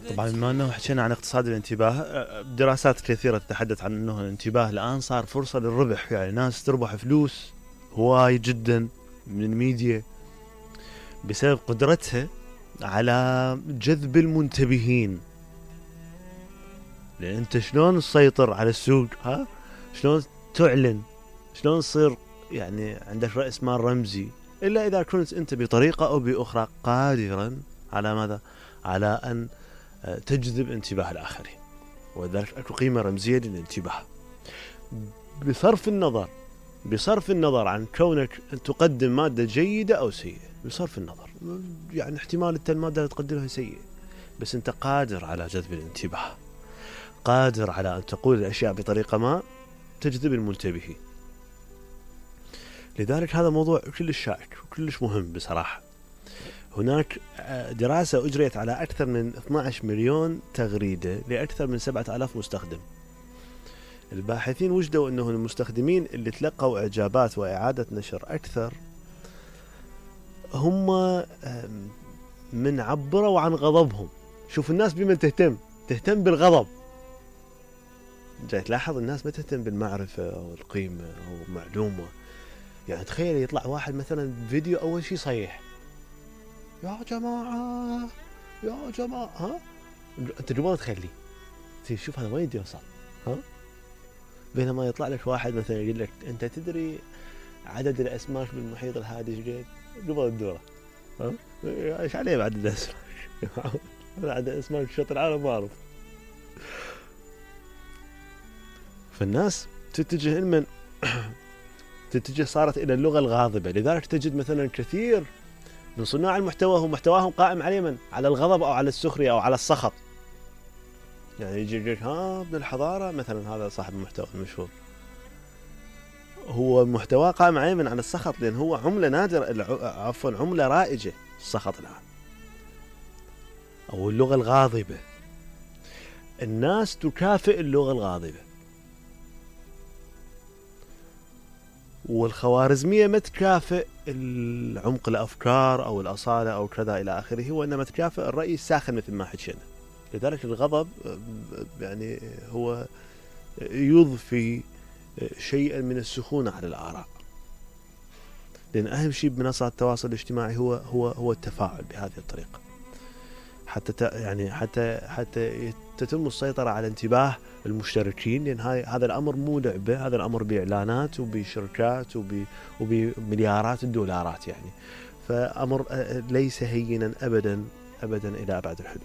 طبعا بما انه حكينا عن اقتصاد الانتباه، دراسات كثيرة تتحدث عن انه الانتباه الان صار فرصة للربح، يعني ناس تربح فلوس هواي جدا من الميديا بسبب قدرتها على جذب المنتبهين. لان انت شلون تسيطر على السوق، شلون تعلن، شلون تصير يعني عندك رأس مال رمزي، الا اذا كنت انت بطريقة او باخرى قادرا على ماذا؟ على ان تجذب انتباه الاخرين. ولذلك اكو قيمة رمزية للانتباه بصرف النظر عن كونك تقدم مادة جيدة او سيئة. بصرف النظر، يعني احتمال انت المادة اللي تقدمها سيئة، بس انت قادر على جذب الانتباه، قادر على ان تقول الاشياء بطريقة ما تجذب المنتبهين. لذلك هذا موضوع كلش شائك وكلش مهم بصراحة. هناك دراسة أجريت على أكثر من 12 مليون تغريدة لأكثر من 7000 مستخدم. الباحثين وجدوا أنه المستخدمين اللي تلقوا إعجابات وإعادة نشر أكثر هم من عبروا عن غضبهم. شوف الناس بمن تهتم بالغضب. جاي تلاحظ الناس ما تهتم بالمعرفة أو القيمة أو معلومة. يعني تخيل يطلع واحد مثلا فيديو أول شيء صيح، يا جماعة انت جوا تخلي شوف هذا وين يوصل، بينما يطلع لك واحد مثلا يقول لك انت تدري عدد الاسماك بالمحيط الهادي ايش قد؟ قبل الدورة ايش عليه بعد الاسماك؟ عدد اسماك شط العالم ما اعرف. فالناس تتجه صارت الى اللغة الغاضبة. لذلك تجد مثلا كثير من صناع المحتوى هو محتواهم قائم على من؟ على الغضب أو على السخرية أو على السخط. يعني يجي ابن الحضارة مثلا، هذا صاحب المحتوى المشهور، هو محتواه قائم على من؟ على السخط، لأن هو عملة نادرة، عملة رائجة السخط الآن، أو اللغة الغاضبة. الناس تكافئ اللغة الغاضبة، والخوارزمية ما تكافئ العمق الأفكار أو الأصالة أو كذا إلى آخره، وإنما تكافئ الرأي الساخن مثل ما حكينا. لذلك الغضب يعني هو يضفي شيئا من السخونة على الآراء، لأن أهم شيء بمنصات التواصل الاجتماعي هو التفاعل بهذه الطريقة، حتى تتم السيطرة على انتباه المشتركين. لأن هذا الأمر مو لعبة، هذا الأمر بإعلانات وبشركات وبمليارات الدولارات يعني. فأمر ليس هينا أبدا إلى أبعد الحدود.